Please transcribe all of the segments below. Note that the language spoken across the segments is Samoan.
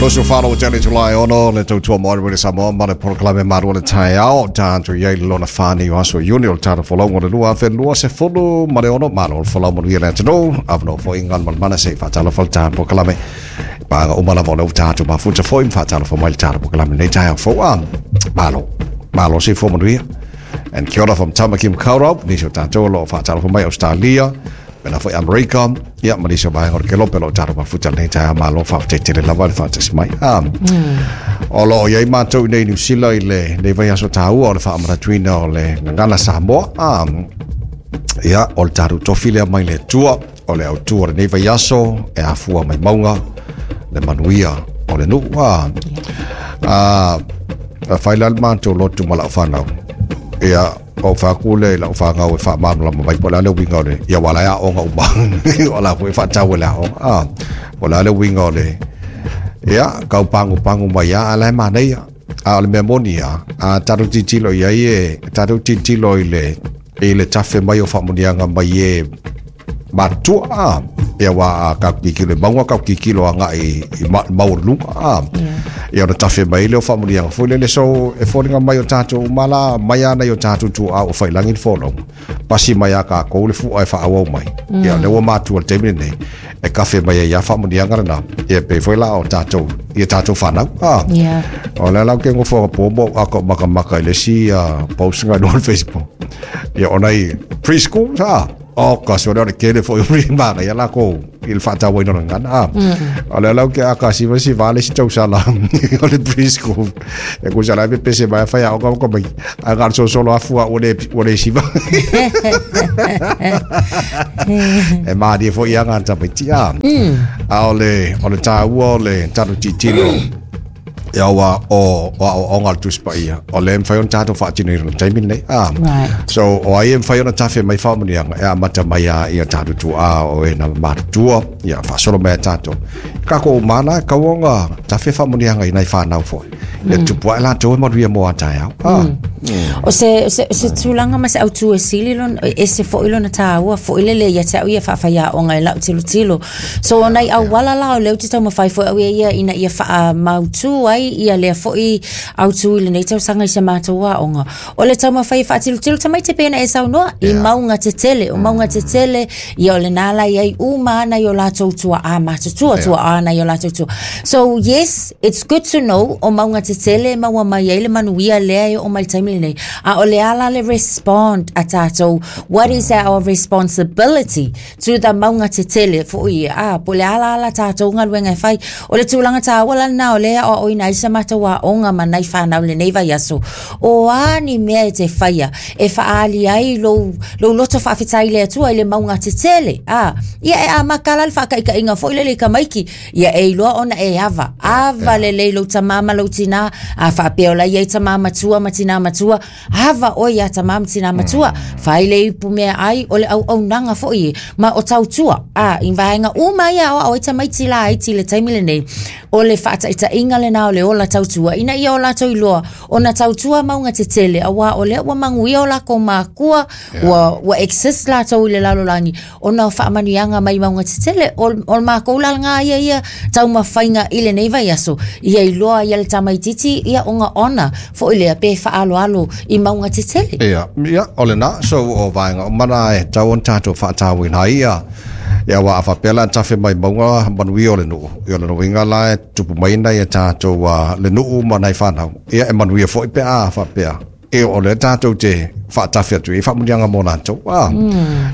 24 o tele July 6 le tautua mo le Samoa ma le polokalame malu o le taeao tatou i ai le lona 4 nei o aso Iuni o le tatou folauga o le 2026. Malo le folau manuia le atunuu avanoa foi Galumalemana se i faatalofa le tatou polokalame paga uma lava o lea ua tatou mafuta foi ma faatalofa mai le tatou polokalame nei taeao fou. A malo malo soifua manuia. And kia ora from Tamaki Makaurau, nisi o tatou o lo o faatalofa mai Australia, mena foi Amerika, ia ma nisi o vaega o le kelope o lo o tatou mafuta lenei taeao. Malo faafetai tele lava le faatasi mai. Ah, o lo o i ai matou i nei Niu Sila i le nei vaiaso taua o le faamanatuina o le gagana Samoa. Ah, ia, o le tatou tofi lea mai le Atua, o le autu o lenei vaiaso e afua mai mauga le manuia o le nuu. Ah, ah, fai la le matou lotu ma lau fanau. Ia, o fai atu le i lau fanau e faamalamalama mai po o le a le uiga o le ia ua la e aoga uma o la foi faatau e le aoga a po o le a le uiga o le ia kau pagupagu mai a a la e manaia a o le mea moni a a tatou tilotilo i ai e tatou tilotilo i le tafe mai o faamuniaga mai e matutua a ia ua a kau tilotilo i mauga kau tilotilo agai i maualuluga a ia ona tafe mai le o faamuniaga foi lele. So e foliga mai o tatou uma la mai ana i o tatou tuaa o failagi le folauga pasi mai a kākou le fua e faaauau mai ia lea ua matua le taimi lenei e kafe mai ai ia faamuniaga lena ia pei foi la o tatou ia tatou fanau a o le lau ke ngofo po mo a ko maka maka i le si post nga no Facebook ia ona i preschool sa o ka so le kele fo i ma ia la ko i le faatau ai no ngana a o le lau ke aka si si vale si tau sala o le preschool e ku sala pe pese mai fa ya o ko mai a ga so solo afua o le siva e ma di fo ia ngā tamaiti a a o le tāua o le tatou tilotilo ia ua o o ngā Tusi Paia o le mawhai ona tātou whaatino i rona taimi nei a so o ai e mawhai ona tafe mai whaamunianga e amata mai a ia tātou tuā o e na matutua ia whaasolo mai a tātou ka ko mana kauonga tafe whaamunianga i nai whānau foi ia tupu ai lātou e maruia mō a taeao a. O se tulaga ma se autu e sili lona, e se foi lona tāua, foi lele ia te au ia whaawhai o lau tilotilo. So o nai auala la o leo te taumafai foi au ia ia ina ia whaamautu ai ia lea foi autu i lenei tausaga i se matou aoga. O le taumafai e faatilotilo tamaiti pena e saunoa i mauga tetele, o mauga tetele, ia o le nā lai ai uma ana i o latou tua'a matutua, tua'a ana i o latou tua. So yes, it's good to know o mauga tetele e maua mai ai le manuia lea e o mai le taimi lenei. A o le ala le respond a tātou, what is our responsibility to the mauga tetele foi a po le ala ala tātou galuega e fai. O le tulaga tāua la lena o lea o ina ai sa matou aoga ma nai whanau lenei vaiaso. O a ni mea e te whaia e whaali ai lou loto faafetai le Atua i le mauga tetele. A, ia e amata la le whaakaikainga foi lele i tamaiti. Ia e iloa ona e ava. Ava lelei lou tamā ma lou tinā. A whaapea o la ia i tamā matua ma tinā matua. Ava oi ia tamā ma tinā matua. Whai le ipu mea ai o le au au nanga foi e. Ma o tautua. A, i vaenga uma ia o o i tamaiti la ai ti le taimi lenei. O le whaataitainga le nā o le ola tautua. Ina ia o latou iloa. O na tautua mauga tetele. Aua o lea ua manuia o lako makua. Ua exist latou i le lalolagi. O na whaamanianga mai mauga tetele. O mākou la ngā ia ia taumafaiga i lenei vaiaso. Ia iloa ia le tamaititi ia onga ona. Foi lea pe whaaloalo i mauga tetele. Ia, o le nā, so o vaenga o mana e tau on tātou whaatau ina ia. Ia wa afa pela tafe mai maunga manuia o le nuu. Ia le nuinga la e tupu mai na ia tātou le nuu ma nai whanau. Ia e manuia foi pe a whapea. E o le tātou te whaatafe atu i whaamunianga mō lātou. Ah.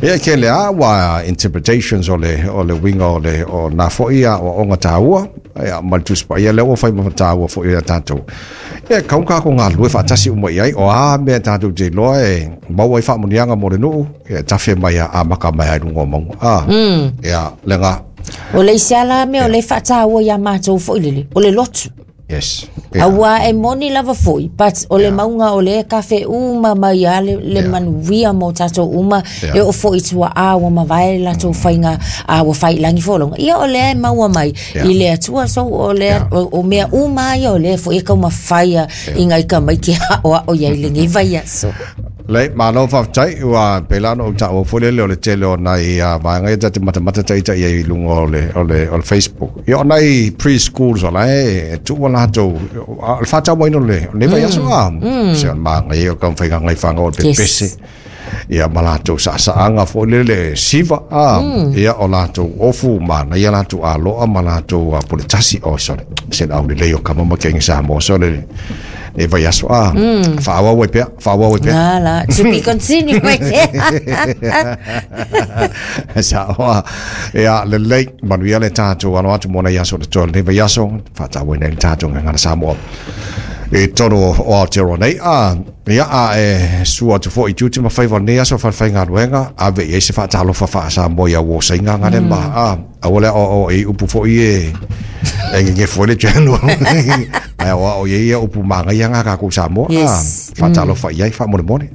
Ia ke le a wa interpretations o le winga o le o nā foi a o onga tāua. Ia ma le Tusi Paia lea ua fai ma tāua foi ia tātou. Ia kau ka ko ngā lue whaatasi uma i ai o a mea tātou te loa e maua i whaamunianga mō le nuu. Ia tafe mai a maka mai ai runga o maunga. Ah. Ia le ngā. O le isi ala mea o le whaataua ia mātou foi lele. O le lotu. Ia. Aua e moni lava foi, but o le mauga o le kafe uma mai a le manuia mo tātou uma, e o foi tua a ua mavae latou faiga a ua failangi folauga. Ia o lea e maua mai i le Atua, so o lea o mea uma ia o lea foi e kaumafaia i ngai tamaiti aoao iai lenei vaiaso. Lei, malo faafetai, ua pei la ona ou taua foi lele o le tele o nai vaega ia ta te matamata ita i ai i luga o le Facebook. Ia o nai preschools o la e tuu latou o le faatauaina o le lenei vaiaso a. Se o le magaia o taumafaiga nai fanau o le pepese. Ia ma latou saasaaga foi lele siva a. Ia o latou ofu manaia latou aloa ma latou puletasi. Oh, sorry. Se le aulelei o kama ma kenge Samoa so le e vaiaso a. Faaauau ai pea, faaauau ai pea. La, to be continued right there. Sa ia lelei, manuia le tatou alo atu mo nai aso le toa lenei vaiaso, faatauaina ai le tatou gagana Samoa i totonu o Aotearoa nei. A ia a e sua atu foi i tiute ma faiva o lenei aso falefaigaluega, ave i ai se faatalofa faa-Samoa ia uo saiga gale ma a aua le aoao i upu foi e gegefu ai le channel. Ai aoao i ai ia upu magaia ngā kākou Samoa. Faatalofa i ai faamolemole.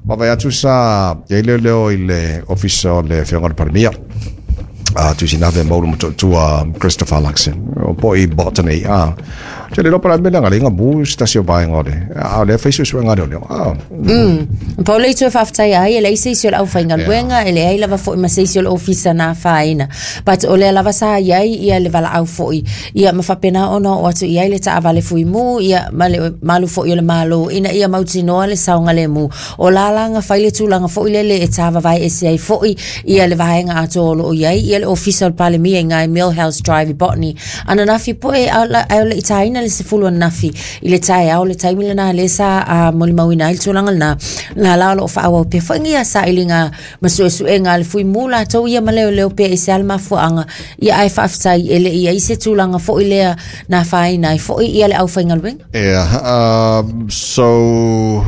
Vaavaai atu sa i ai leoleo i le ofisa o le Afioga i le Palemia. Tusinave Maulu Motootua Christopher Luxon. O po i Botany. Te le lopa la mea nga lenga mu se tasi o vaega o le. A o lea fai suesuega a leoleo. Pau le itu e faafetai ai, e leai se isi o le aufaigaluega, e leai lava foi ma se isi o le ofisa na afaina. But o lea lava sa i ai ia le valaau foi, ia ma faapena ona oo atu i ai le taavale fuimu, ia ma le malu foi o le Malo, ina ia mautinoa le saogalemu. O la la na fai le tulaga foi lele e tāvavae ese ai foi ia le vaega atoa o loo i ai ia le ofisa o le Palemia i ngai Millhouse Drive i Botany. Ananafi poe ae o le i tāina le 10 ananafi i le taeao le taimi lena lea sa molimauina ai le tulaga lena. La la o loo faaauau pea foi ia sailiga ma suesuega a le fuimu latou ia ma leoleo pea i se a le mafuaaga ia ae faafetai e le i ai se tulaga foi lea na afaina ai foi ia le aufaigaluega. Yeah, so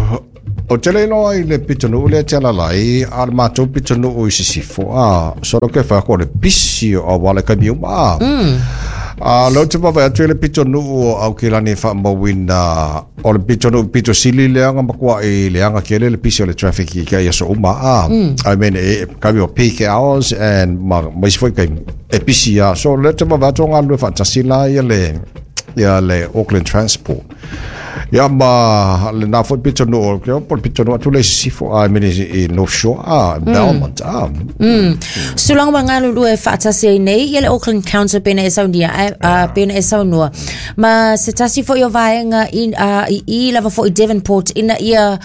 o te le iloa i le pitonuu lea te alalai, a o le matou pitonuu i Sisifo, a, so lo ke whai o le pisi o awala kai miuma, a. A leo te vaavaai atu i le pitonuu o Aukilani e faamauina o le pitonuu pito sili lea matuai leaga tele le pisi o le traffic i ke aso uma, a. I mean, e, kai o peak hours and ma isi foi kaimi, e pisi a. So leo te vaavaai atu o galulue faatasi la ia le Auckland Transport. Ia ma le nā foi pitonuu, o po le pitonuu atu le i Sisifo, I mean i North Shore, a, Belmont, a. Tulaga ua galulue faatasi ai nei ia le Auckland Council pena e saunia pena e saunua ma se tasi foi o vaega i lava foi Devonport ina ia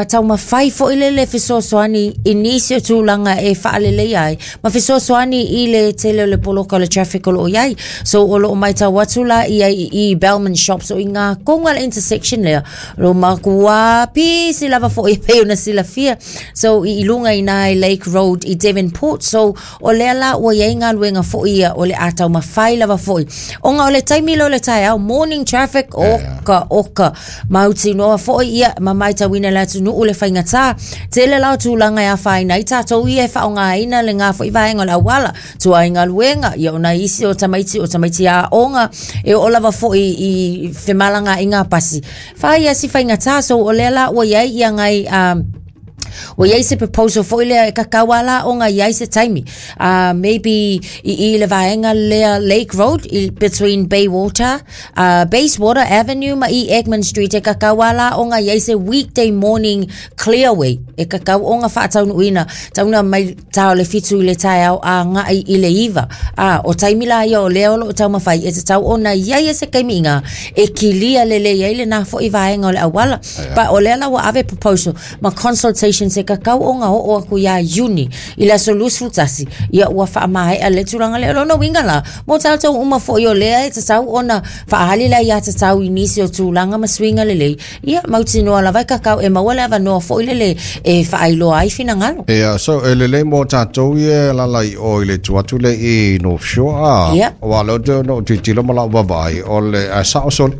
taumafai foi lele fesoasoani i nisi o tulaga e faaleleia ai ma fesoasoani i le tele o le poloka o le traffic o loo i ai. So o loo maitau atu la ia i Bellman Shops o i ngā konga le intersection lea lo makuā pisi lava foi e pei ona silafia. So i lunga i nai Lake Road i Devonport. So o lea la ua iai galuega foi ia o le a taumafai lava foi. Ona o le taimi lea o le taeao, morning traffic, oka, oka. Mautinoa foi ia ma maitauina le atunuu le faigata. Tele la o tulaga e afaina ai tatou ia e faaaogaina le ngā foi vaega o le auala. Tua i galuega, ia o nai isi o tamaiti aoga, e oo lava foi i femalagaaiga pasi. Fai ia si faigata, so o lea la ua iai ia ngai ua iai se proposal foi lea e kakau a la ona iai se taimi. Maybe i le vaega lea Lake Road i between Baywater, Bayswater Avenue ma i Egmont Street e kakau a la ona iai se weekday morning clearway e kakau ona faataunuuina tauna mai tā o le 7 i le taeao a ngai i le 9. O taimi la ia o lea o loo taumafai e tatau ona iai e se kaimi inga e kilia lelei ai le nā foi vaega o le auala. Pa o lea la ua ave proposal ma consultation se kakau ona oo aku ia Iuni i le aso 21 ia ua faamaea le tulaga lea. O lona uiga la mo tatou uma foi o lea e tatau ona faahali la ia tatau i nisi o tulaga ma suiga lelei ia mautinoa lava e kakau e maua le avanoa foi lele e faailoa ai finagalo. Ia, so e lelei mo tatou ia lala i o i le tu atu le i North Shore, a. Wa leo te no tilotilo ma lau vaavaai, o le a sao sole.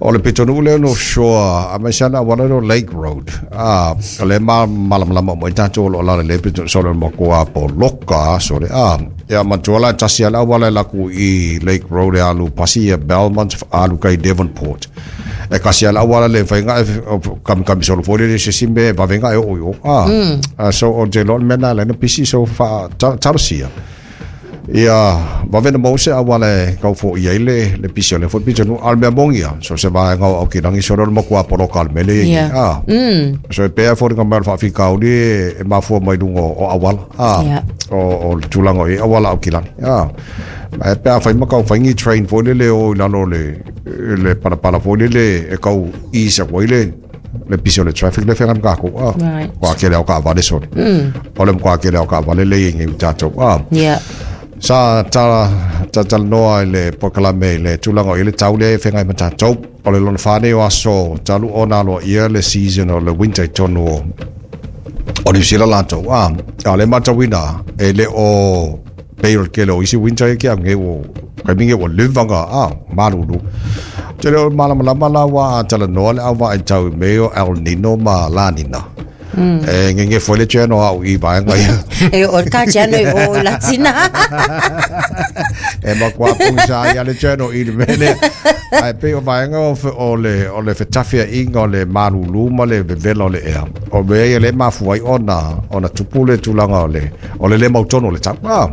O le pitonuu lea North Shore, a mai sana wala no Lake Road. A, o le ma malamalama mo i tatou o lo la le pitonuu sole mo ko a po loka sole. A, ia matua la tasi ala wala la ku i Lake Road e alu pasi ia Belmont alu kai Devonport. E kasi ala wala le whainga e kami kami solo fo le se simbe vavenga e o yo. A, so o te lon mena le na pisi so fa talosia. Ia vave ona maua se auala e tau foia ai le pisi o lea foi pitonuu. A o le mea moni lava, so o se vaega o Aukilagi sole o le matua poloka o le mea lea e i ai nei. A, so e pei lava e foliga mai o le faafitauli e mafua mai luga o auala, a, o le tulaga o i ai auala a Aukilagi. A, ae pe afai ma tau fai ni train foi lele e o i lalo o le palapala foi lele e tau ease atu ai le pisi o le traffic lea e feagai ma tatou. A, matua tele lava o taavale sole. O le matua tele lava o taavale lea e i ai nei i tatou. A, sa talatalanoa i le polokalame i le tulaga o i ai le tau lea e feagai ma tatou. O le lona fa nei o aso talu ona aloaia le season o le winter i totonu o Niu Sila latou. A, a o lea e matauina e le o pei o le tele o isi winter ia ke au nei ua taimi nei ua leva ona a malulu. Ou te le o malamalama la aua a talanoa le au vaai tau i mea o El Nino ma La Nina. E gegefo ai le channel a au i vaega ia. E o ka channel i o i Latina. E matua pogisa ai lava le channel i le mea lea. Ae pei o vaega o, o le, o le fetafiaiga o le malulu ma le vevela o le ea, o mea ia lea e mafua ai ona, ona tupu le tulaga o le, o le le mautonu o le tau. Ah.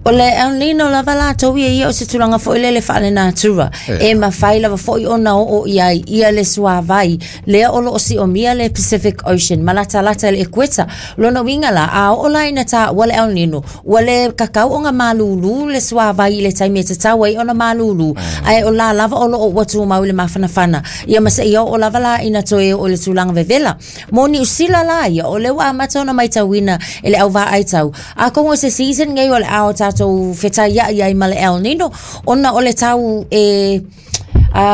O le El Nino lava latou ia ia o se tulaga foi lele faalenatura e mafai lava foi ona oo i ai ia le suāwai lea o lo o siomia le Pacific Ocean ma latalata i le ekueta. Lona uiga la, a oo la ina taua le El Nino, ua le kakau ona malūlū le suāwai i le taimi e tatau ai ona malūlū, ae o la lava o lo o ua tumau i le mafanafana, ia ma seia oo lava la ina toe oo i le tulaga vevela. Mo Niu Sila la ia, o lea ua amata ona maitauina e le au vaai tau, atonu o se season nei o le a o tatou fetaiai ai ma le El Nino, ona o le tau e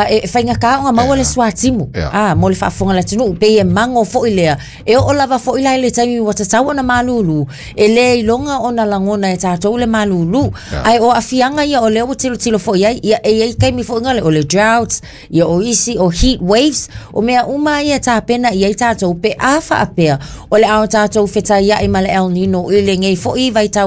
e faigata ona maua le suatimu mo le faafofoga a le atunuu, pei e mago foi lea. E oo lava foi la i le taimi ua tatau ona malūlū, e le iloga ona lagona e tatou le malūlū. Ae o aafiaga ia o lea ua tilotilo foi i ai, ia, e i ai taimi foi na o le droughts, ia o isi o heat waves, o mea uma ia e tapena i ai tatou pe a faapea o le a o tatou fetaiai ma le El Nino i lenei foi vaitau.